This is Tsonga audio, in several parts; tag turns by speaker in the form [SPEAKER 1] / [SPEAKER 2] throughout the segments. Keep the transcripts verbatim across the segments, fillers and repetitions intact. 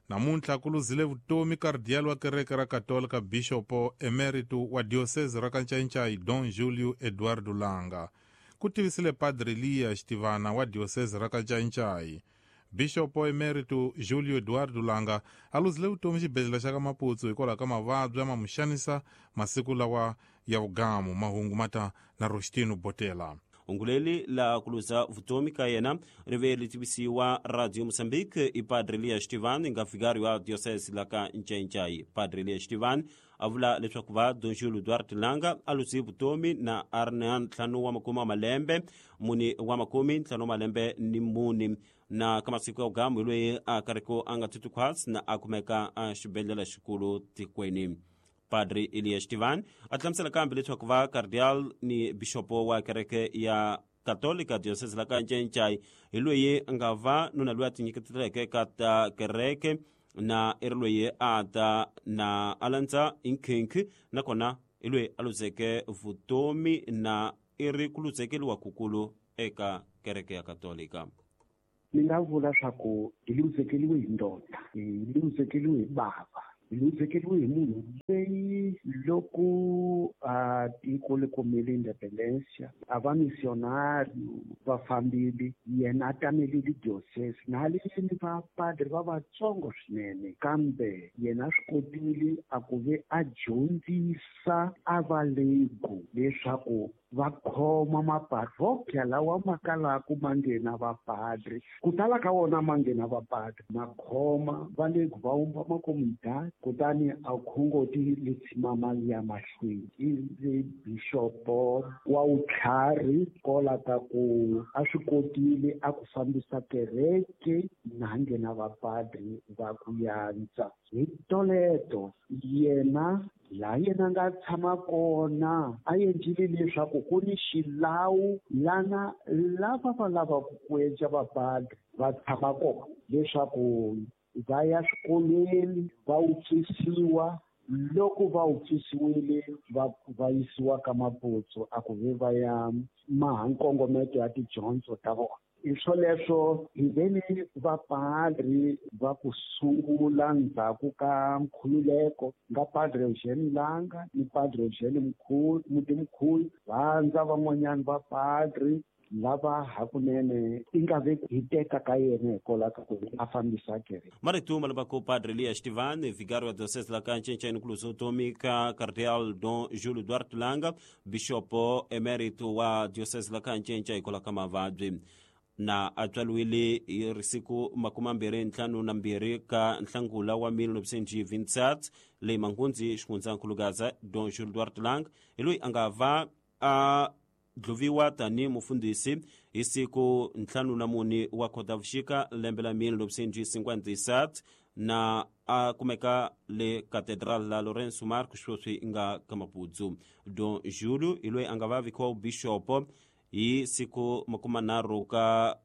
[SPEAKER 1] Namuntlha ku luzile vutomi kardiyali wa kereke ra Katolika Bishopo Emeritu wa diocese ra Kancaincai Don Julio Eduardo Langa. Ku tivisile Padre Elias Xitivana wa diocese ra Kancaincai. Bishopo Emeritu Julio Eduardo Langa a luzile vutomi xibedhlele xa ka Maputsu hikwalaho ka mavabyi a ma mu xanisa masiku lawa ya vugamu. Mahungu mata na Rostino Botela.
[SPEAKER 2] Unguleli la kuluza vutomi ka yena ri ve ri tivisiwa Radio Mozambique i Padre Elias Xitivani nga vigário wa diocese la ka Ncainchai. Padre Elias Xitivani a vula leswaku va Don Julio Duarte Langa a luzi vutomi na a ri na ntlhanu wa makume wa malembe mune wa makume ntlhanu wa malembe ni mune na ka masiku ya vugamu hi loyi a karhi a nga titwi khwatsi na a kumeka a xibedhlele xikulu tikweni. Padre Elias Xitivani a hlamusela kambe leswaku va cardial ni bishopo wa kereke ya Katolika diocese la ka Ncainchai hi loyi a nga va nuna loyi a tinyiketeleke ka ta kereke na i ri loyi a ta na a landza nkhinkhi nakona i loyi a luzeke vutomi na i ri ku luzekeliwa kukulu eka kereke ya Katolika.
[SPEAKER 3] Ni nga vula swa ku hi luzekeliwe hi ndoda, hi luzekeliwe hi bava, hi luzekeliwe hi munhu leyi loko a tiko li kumile independencia a va missionario va fambile yena a tamelile diocese na haleni vapadri va vatsongo swinene kambe yena a swi kotile a ku ve a dyondzisa a va lego leswaku va khoma maparroquia lawa ma kalaka ma nghena vapadri ku tala ka wona ma nghena vapadri ma khoma va lego va vumba makomunidad kutani a khongoti li tshima mali ya mahlweni i bishopo wa vutlhari kola ka ku a swi kotile a ku fambisa kereke na nghena vapadri va ku yantsa hi toleto yena laha yena nga tshama kona a endlile leswaku ku ni xilawu lana lava va lavaka ku endla vapadri va tshama kona leswaku va ya swikolweni va wupfisiwa loko va wupfisiwile va va yisiwa ka Maputsu a ku ve va ya maha nkongometo ya tidyondzo ta vona. Hi swoleswo hi ve ni vapadri va ku sungula ndzhaku ka nkhululeko nga Padre Eugene Langa ni Padre Eugene Mkhulu Mutimkhulu vandza van'wanyana vapadri lava hakunene i nga ve hi teka ka yena hikwalaho ka ku a fambisa kereke.
[SPEAKER 2] Marito ma lavaka Padre Elias Xitivani vigário wa diocese la ka Ncainchai ku luza vutomi ka Cardeal Don Julio Duarte Langa bishopo emeritu wa diocese la ka Ncainchai hikwalaho ka mavabyi na a tswariwile hi risiku makume mbirhi ntlhanu na mbirhi ka nhlangula wa mille neuf cent vingt-sept leyi Manghunzi xifundzankulugaza Don Julio Duarte Langa hi loyi a nga va a dluviwa tani mufundhisi hi siku ntlhanu na mune wa Khotavuxika lembe la mille neuf cent cinquante-sept na a kumeka le Catedral la Lourenço Marques sweswi nga ka Maputsu. Don Julio hi loyi a nga va vikiwa bishopo hi siku makume nharhu ka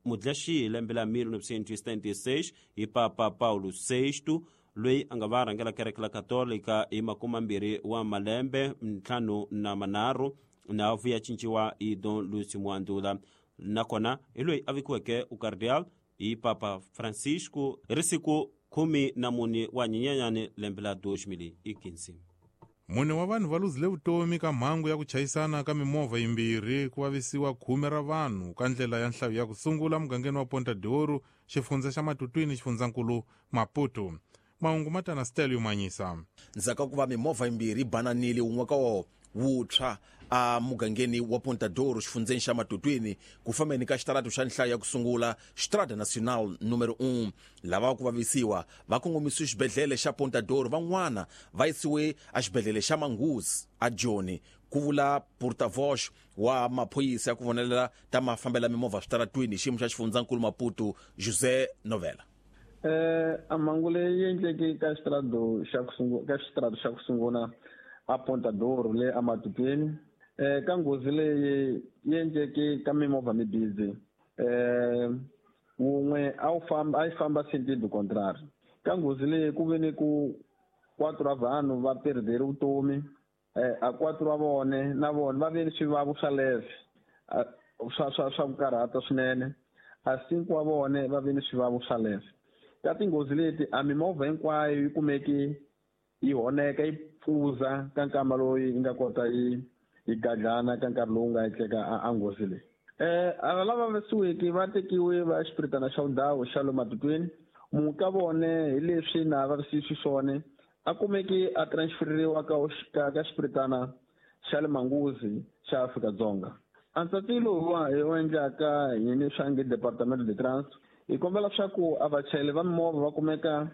[SPEAKER 2] Mudlaxi lembe la mille neuf cent setenta e seis hi Papa Paulo sexto loyi a nga va rhangela kereke la Katolika hi makume mbirhi wa malembe ntlhanu na manharhu na vuya cinciwa hi Don Lucio Mwandula nakona hi loyi a vikiweke ukardial hi Papa Francisco hi ri siku khume na mune wa Nyenyenyani lembe la deux mille quinze.
[SPEAKER 1] Mune wa vanhu va luzile vutomi ka mhangu ya ku chayisana ka mimovha yimbirhi ku vavisiwa khume ra vanhu ka ndlela ya nhlayo ya ku sungula mugangeni wa Ponta de Ouro xifundza xa Matutwini xifundzankulu Maputo. Mahungu ma ta na Stelio Manyisa.
[SPEAKER 4] Ndzhaku ka ku va mimovha yimbirhi yi bananile wun'we ka wona wutshwa a mugangeni wa Ponta d'Ouro xifundzeni xa Matutwini ku fambeni ka xitaratu xa nhlayo ya ku sungula Estrada Nacional numero un. Lava ku vavisiwa va kongomisiwe xibedhlele xa Ponta d'Ouro, van'wana va yisiwe exibedhlele xa Manguzi a Joni, ku vula porta-voz wa maphorisa ya ku vonelela ta mafambela mimovha switaratwini hi xiyimo xa xifundzankulu Maputo, José Novela.
[SPEAKER 5] Eh a mhangu leyi endleke ka xitarado xa ku sungula ka xitarado xa ku sungula a Ponta d'Ouro le amatutweni eh ka nghozi leyi yi endleke ka mimovha mimbirhi eh wun'we a wu famba a yi famba sentido contrario ka nghozi leyi ku ve ni ku quatro ra vanhu va perdere vutomi eh a quatro wa vone na vona va ve ni swivavo swa leve swa swa swa ku karhata swinene a cinco wa vone va ve ni swivavo swa leve. Ka tinghozi leti a mimovha hinkwayo yi kumeki yi honeka yi pfuza ka nkama lowu yi nga kota yi yi gadlana ka nkarhi lowu nga endleka a nghozi leyi. Eh ava lava vavisiweke va tekiwe va xipiritana xa ndhawu xa le Matutweni. Munhu ka vone hi leswi na vavisiwi xiswona a kumeki a transferiwa ka ka ka xipiritana xa le Manguzi xa Afrika-Dzonga. A ntsatilo wa hi wu endlaka hi ni swa nge Departamento de Trânsito hi kombela leswaku a vachayeri va mimovha va kumeka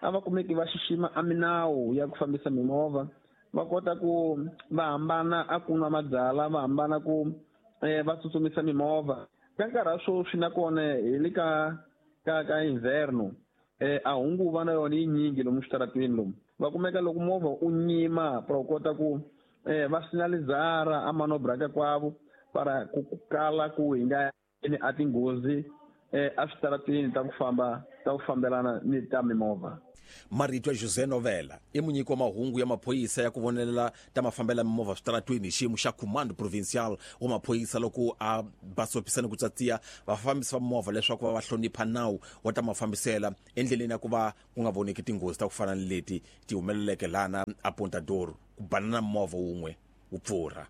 [SPEAKER 5] a va kumeki va xixima a minawu ya ku fambisa mimovha, va kota ku va hambana a ku nwa mabyalwa, va hambana ku eh va tsutsumisa mimovha. Ka nkarhi wa sweswi nakona hi le ka ka ka inverno eh a hunguva na yona yi nyingi lomu switarateni lomu. Va kumeka loko movha u nyima para u kota ku eh va sinalizara a manobra ka kwavo para ku kala ku hi nga a tinghozi eh a switarateni ta ku famba ta ku fambelana ni ta mimovha.
[SPEAKER 4] Marito ya José Novela i munyiki wa mahungu ya maphorisa ya ku vonelela ta mafambelo ya mimovha switaratweni hi xiyimo xa Comando Provincial wa maphorisa loko a basopisa ni ku tsatsiya vafambisi va mimovha leswaku va va hlonipha nawu wa ta mafambisela endleleni ya ku va ku nga voneki tinghozi ta ku fana ni leti ti humeleleke lana a Pontador ku banana movha wun'we wu pfurha.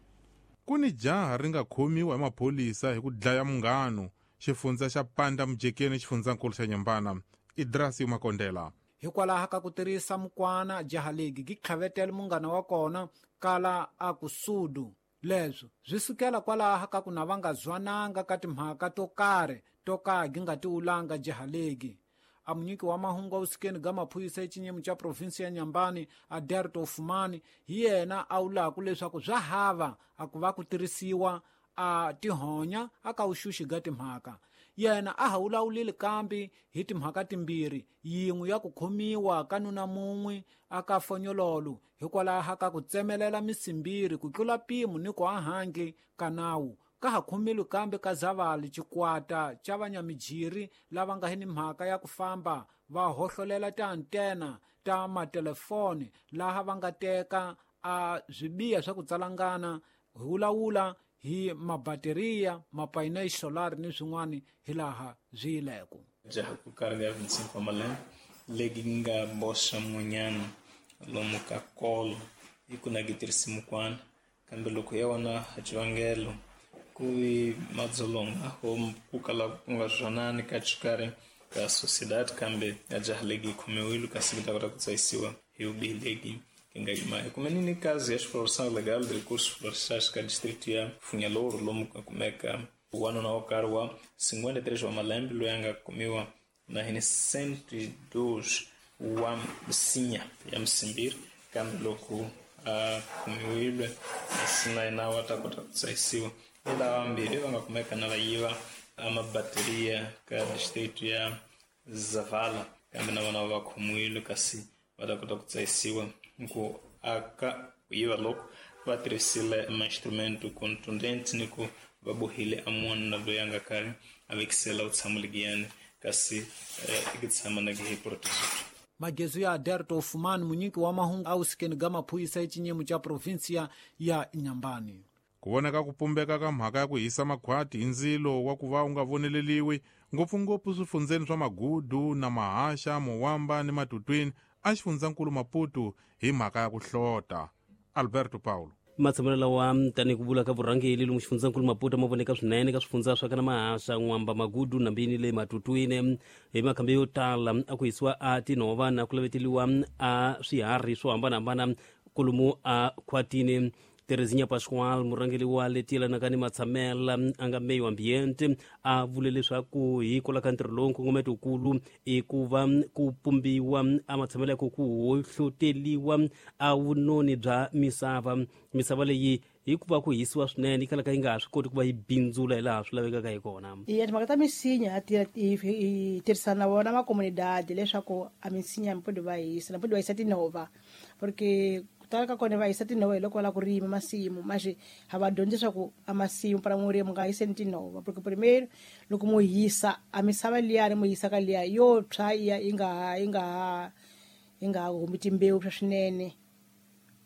[SPEAKER 1] Ku ni jaha ri nga khomiwa hi maphorisa hi ku dlaya munghano xifundza xa Panda Mujekeni xifundzankulu xa Nyambana. Idrasi Makondela.
[SPEAKER 6] Hikwalaho ka ku tirhisa mukwana jaha legi gi tlhavetela munghana wa kona kala a ku sudu. Leswo swi sukela kwalaho ka ku na va nga zwananga ka timhaka to karhi to ka gi nga tiwulanga jaha legi. A munyiki wa mahungu awusikeni ga maphorisa exinyemu xa provinsi ya Nyambani Aderto Ofumani hi yena a wulaku leswaku swa hava a ku va ku tirhisiwa a tihonya a ka vuxuxi ga timhaka. Yena a ha wulawulile kambe hi timhaka timbirhi, yin'we ya ku khomiwa ka nuna mun'we a ka fonyololo hikwalaho ka ku tsemelela misimbiri ku tlula mpimo ni ku ahandle ka nawu. Ka ha khomile kambe ka Zavali xikwata xa vanyamijiri lava nga ni mhaka ya ku famba va hohlolela tiantena ta matelefoni laha va nga teka a swibiya swa ku tsalangana hi wulawula hi mabateriya, mapainel solar ni swin'wana hilaha swi yileko.
[SPEAKER 7] Jaha ku karhi ya vinte e cinco wa malembe legi nga boxa mun'wanyana lomu ka kolo hi ku na gi tirhisi mukwana, kambe loko ya wona a xivangelo ku vi madzolonga o ku kala ku nga zwanani ka xikarhi ka sociedade, kambe ya jaha legi yi khomiwile kasi yi ta kota ku tsayisiwa hi vubihi legi nga yima. Kumenini kazi ya exploração legal de recursos florestais ka distrito ya Funhalouro lomu ka kumeka wanuna wo karhi wa cinquenta e três wa malembe loyi a nga kumiwa na hini cento e dois wa misinya ya misimbiri, kambe loko a kumiwile asi na yena wa ta kota ku tsayisiwa. Hi lava vambirhi va nga kumeka na va yiva a mabateriya ka distrito ya Zavala, kambe na vona va khomiwile kasi va ta kota ku tsayisiwa ku aka ku yiva loko va tirhisile ma-instrumento contundente ni ku va bohile a munhu loyi a nga karhi a vekisela vutshamo legiyani kasi i tshama na hi protection.
[SPEAKER 6] Magezu ya Aderto Ofumani munyiki wa mahungu awusikeni ga maphorisa exinyemu xa provinsia ya Nyambani.
[SPEAKER 1] Ku vonaka ku pumbeka ka mhaka ya ku hisa makhwati hi ndzilo wa ku va u nga voneleliwi ngopfungopfu swifundzeni swa Magudu na Mahaxa, Mowamba ni Matutwini a xifundzankulu Maputo hi mhaka ya ku hlota. Alberto Paulo.
[SPEAKER 2] Matshamelo lawa tanihi ku vula ka vurhangeri lomu xifundzankulu Maputo ma voneka swinene ka swifundza swa kana Mahaxa, N'wamba, Magudu na Mbini le Matutwini. Hi makhambi yo tala a ku hisiwa a tinhova na ku laveteliwa a swiharhi swo hambanahambana kolomu a khwatini. Terezinha Pascoal, murhangeri wa leti yelanaka ni matshamela a nga meyo ambiente, a vule leswaku hikwalaho ka ntirho lowu nkongometo wukulu i ku va ku pumbiwa a matshamelo ya ku ku hohloteliwa a vunoni bya misava. Misava leyi hikuva ku hisiwa swinene yi kalaka yi nga ha swi koti ku va yi bindzula hi laha swi lavekaka hi kona.
[SPEAKER 8] Iya timhaka ta misinya hi tirhisana na vona makomunidade leswaku a misinya mpodi va hisa na mpodi va hisa tinhova, porque ku tala ka kona va hisa tinhova hi loko va lava ku rima masimu. Manje ha va dyondzisa ku a masimu para murimi nga hiseni tinhova, porque primeiro loko mo hisa a misava liyani mo hisa ka liya yo tshwa iya yi nga ha yi nga ha yi nga ha humi timbewu swa swinene.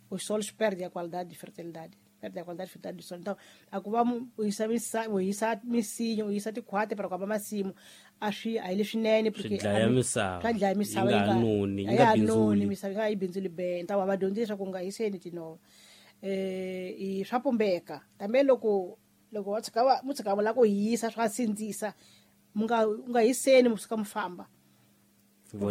[SPEAKER 8] Os solos perdem a qualidade de fertilidade. Perto da qualidade frutal do solo. Então, a ku va u hisa misa u hisa misinya u hisa tikhwati para ku hamba masimu a swi a hi leswinene
[SPEAKER 9] porque swi dlaya misava
[SPEAKER 8] swa dlaya misava
[SPEAKER 9] yi nga noni yi nga bindzuli
[SPEAKER 8] misava yi nga yi bindzuli be então va dyondzisa ku nga hiseni tinova eh i swa pumbeka tambe loko loko wa tshika va mu tshika va la ku hisa swa sindzisa mu nga u nga hiseni mu suka mu famba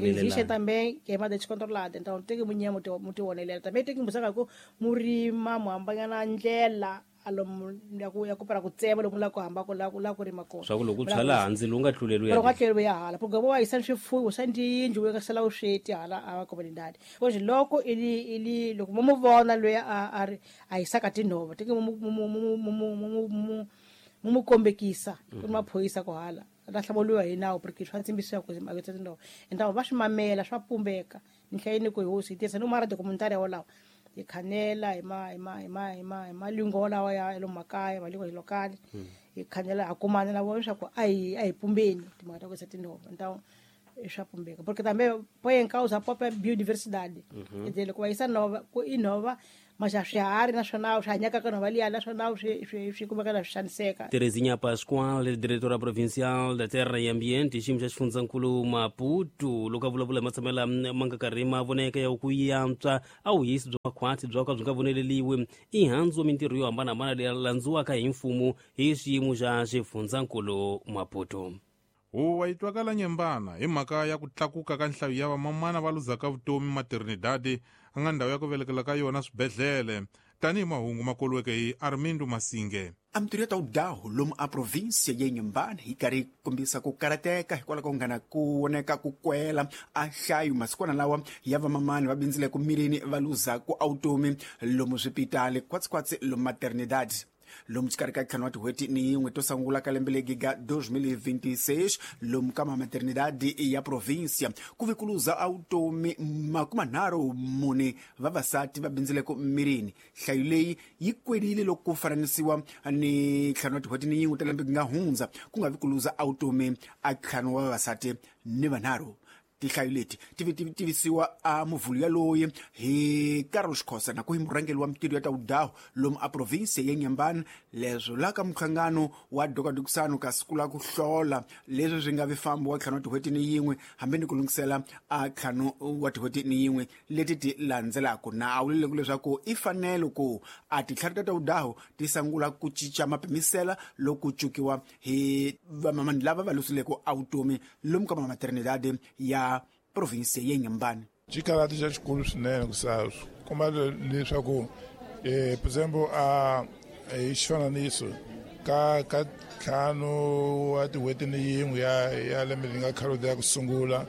[SPEAKER 8] existe também queimada descontrolada. Então tem que munha muito muito onelela. Também tem que buscar ku murima muhambanyana ndlela alomu ya ku ya ku para ku tsema lomu la ku hamba ku la ku la ku rima kona.
[SPEAKER 9] Swa ku loko u tshala hansi lowu nga tluleli
[SPEAKER 8] ya. Loko tluleli ya hala. Porque wa yisa swifuwo swa tiyindlu u nga sala u sweti hala a comunidade. Hoje loko ili ili loko mu vona loyi a a ri a yisaka tinhova tem que mu mu mu mu mu mu mu kombekisa ku maphorisa ku hala. Ta hlamuriwa hi nawu porque swa tsimbisiwa ku ma yisa tinhova. Então va swi mamela swa pumbeka. Ni hlayini ku hosi yi tirhisa no mara documentary wolawo. Hi khanela hi ma hi ma hi ma hi ma hi malingo lawa ya lomu makaya malingo ya lokali hi khanela a kumana na vona leswaku a hi a hi pumbeni timhaka ta ku yisa tinhova. Então swa pumbeka porque também põe em causa a própria biodiversidade. Quer dizer, loko va yisa nhova ku i nhova mas a swiharhi naswona swi hanyaka ka nhova liya naswona swi swi swi kumeka na swi xaniseka.
[SPEAKER 9] Terezinha Pascoal, diretora provincial da Terra e Ambiente, xiyimo xa xifundzankulu Maputo, loko a vulavula hi matshamelo ma nga karhi ma voneka ya ku yantswa a vuhisi bya makhwati bya ka byi nga voneleliwi i handzu mintirho yo hambanahambana leyi landziwaka hi mfumo hi xiyimo xa xifundzankulu Maputo.
[SPEAKER 1] Huwa yi twakala nyembana hi mhaka ya ku tlakuka ka nhlayo ya vamamana va luzaka vutomi maternidade a nga ndhawu ya ku velekela ka yona swibedhlele tanihi mahungu ma koliweke hi Armindo Masinge.
[SPEAKER 10] A mintirho ya ta wudahu lomu a província ya Inhambane yi karhi yi kombisa ku karateka hikwalaho ka ku nghana ku voneka ku kwela a nhlayo masikwana lawa ya vamamani va bindzile ku mirini va luza ku automi lomu swipitali khwatsikhwatsi lomu maternidade lomu xikarhi ka ntlhanu wa tin'hweti ni yin'we to sungula ka lembe legi ga dois mil e vinte e seis lomu ka maternidade ya província ku ve ku luza automi makumanharhu mune vavasati va bindzile ku mirini. Nhlayo leyi yi kwelile loko ku fananisiwa ni ntlhanu wa tin'hweti ni yin'we ta lembe nga hundza ku nga vi ku luza automi a ntlhanu wa vavasati ni vanharhu. Tinhlayo leti ti tivisiwa a muvhulu yaloye hi Carlos Khosa na ku hi murhangeri wa mintirho ya ta wudahu lomu a província ya Inhambane leswo la ka minhlangano wa dokadokisano ka siku la ku hlola leswi swi nga vi fambo wa ntlhanu wa tin'hweti ni yin'we hambi ni ku lunghisela a ntlhanu wa tin'hweti ni yin'we leti ti landzelaka na a vulile leswaku i fanele ku a tintlhari ta ta wudahu ti sungula ku cinca mapimisela loko cukiwa hi vamamani lava va lusileke automi lomu ka maternidade ya província ya Inhambane.
[SPEAKER 11] Xikarhati xa xikulu swinene ku sa komba leswaku eh por exemplo a hi xifananiso ka ka ntlhanu wa tin'hweti ni yin'we ya ya lembe leri nga khalodi ya ku sungula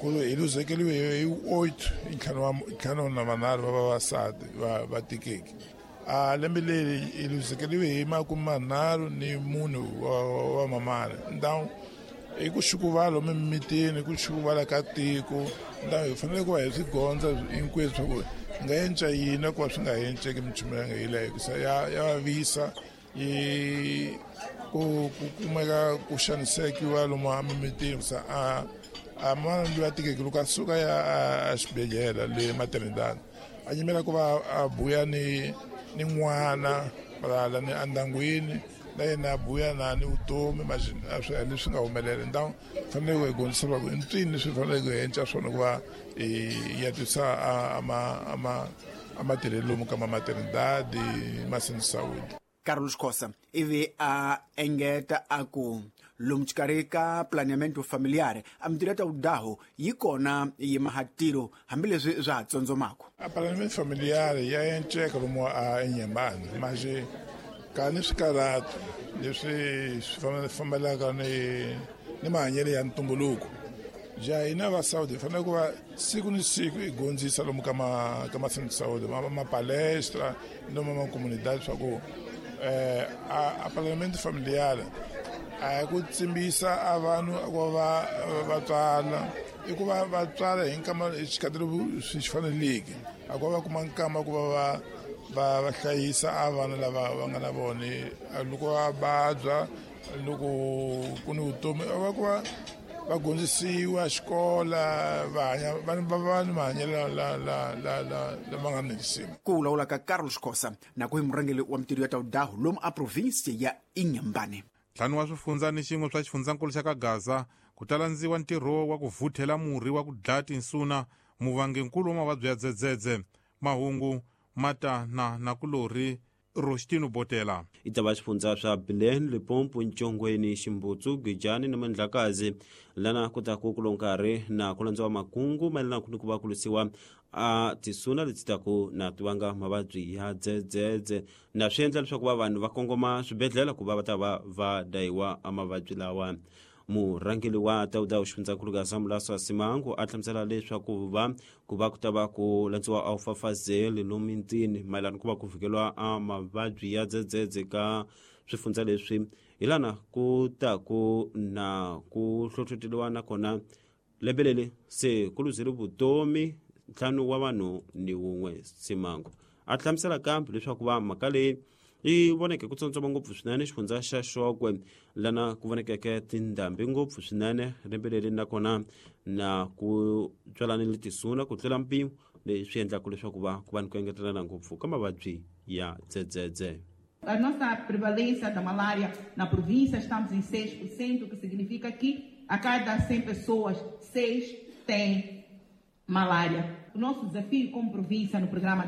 [SPEAKER 11] ku hi luzekeliwe hi oito hi ntlhanu wa ntlhanu na manharhu va vavasati va va tikeki. A lembe leri hi luzekeliwe hi makume manharhu ni munhu wa wa mamana. Então i ku xukuvala emimitini ku xukuvala ka tiko ndhawu hi fanele ku va hi swi gondza hinkweswo swa ku hi nga enca yini ku va swi nga enceki minchumu ya nga yi hikusa ya ya vavisa yi ku ku kumeka ku xanisekiwa lomu emimitini kusa a a mana loyi a tikeke loko a suka ya a xibedhlele le maternidade a yimela ku va a buya ni ni n'wana valala ni endyangwini na yena a buya na ni vutomi a swi leswi nga humelela. Então fanele ku hi gondzisa va ku i mpfini leswi faneleke ku hi enca swona ku va hi ya tisa a ma a ma a matirhelo lomu ka ma maternidade ma saúde.
[SPEAKER 10] Carlos Khosa ivi a engeta a ku lomu xikarhi ka planeamento familiar a mintirho ya ta wudahu yi kona yi mahatiro hambileswi swa ha tsondzomaka.
[SPEAKER 11] A planeamento familiar ya enceka lomu a Inhambane mas ka ni swikarhati leswi swi fambelaka ni ni mahanyelo ya ntumbuluko ja hina va Saudi hi fanele ku va siku ni siku hi gondzisa lomu ka ma ka ma saúde ma ma palestra lomu ma comunidade swa ku eh a planeamento familiar a ku tsimbisa a vanhu ku va va tswala i ku va va tswala hi nkama xikhathi swi faneleke a ku va kuma nkama ku va va va va hlayisa a vana lava va nga na vona loko va vabya loko ku ni vutomi va ku va va dyondzisiwa xikola va hanya va va ni mahanyelo la la la la lama nga ni risima.
[SPEAKER 10] Ku vulavula ka Carlos Khosa na ku hi murhangeri wa mintirho ya tawudahu lomu a province ya Inhambane.
[SPEAKER 1] Ntlhanu wa swifundza ni xin'we swa xifundzankulu xa ka Gaza ku ta landziwa ntirho wa ku vuthela murhi wa ku dlaya tinsuna muvanginkulu wa mavabyi ya dzedzedze. Mahungu mata na nakulorhi Rostino Botela.
[SPEAKER 2] I ta va swifundza swa Bilene, Limpopo, Ntshongweni, Ximbutsu, Gijani na Mandlakazi lana ku ta ku kulo nkarhi na ku landziwa makungu mayelana ni ku va ku lwisiwa a tisuna leti taku na ti vanga mavabyi ya dzedzedze na swi endla leswaku va vanhu va kongoma swibedhlele ku va va ta va va dayiwa a mavabyi lawa. Murhangeri wa tawudawu xifundzankulu Gaza Mulaso Simango a hlamusela leswaku va ku va ku ta va ku landziwa a wu fafazeli lomu mitini mayelana ku va ku vhikeliwa a mavabyi ya dzedzedze ka swifundza leswi hi lana ku ta ku na ku hlohloteriwa nakona lembe leri se ku luzile vutomi ntlhanu wa vanhu ni wun'we. Simango a hlamusela kambe leswaku va mhaka leyi yi voneke ku tsontsoma ngopfu swinene xifundza xa Xokwe lana ku vonekeke tindhambi ngopfu swinene lembe leri nakona na ku tswalanile tisuna ku tlula mpimo leswi endlaka leswaku va ku va ni ku engetelana ngopfu ka mavabyi ya dzedzedze.
[SPEAKER 12] A nossa prevalência da malária na província estamos em seis por cento, o que significa que a cada cem pessoas, seis têm malária. O nosso desafio como província no programa da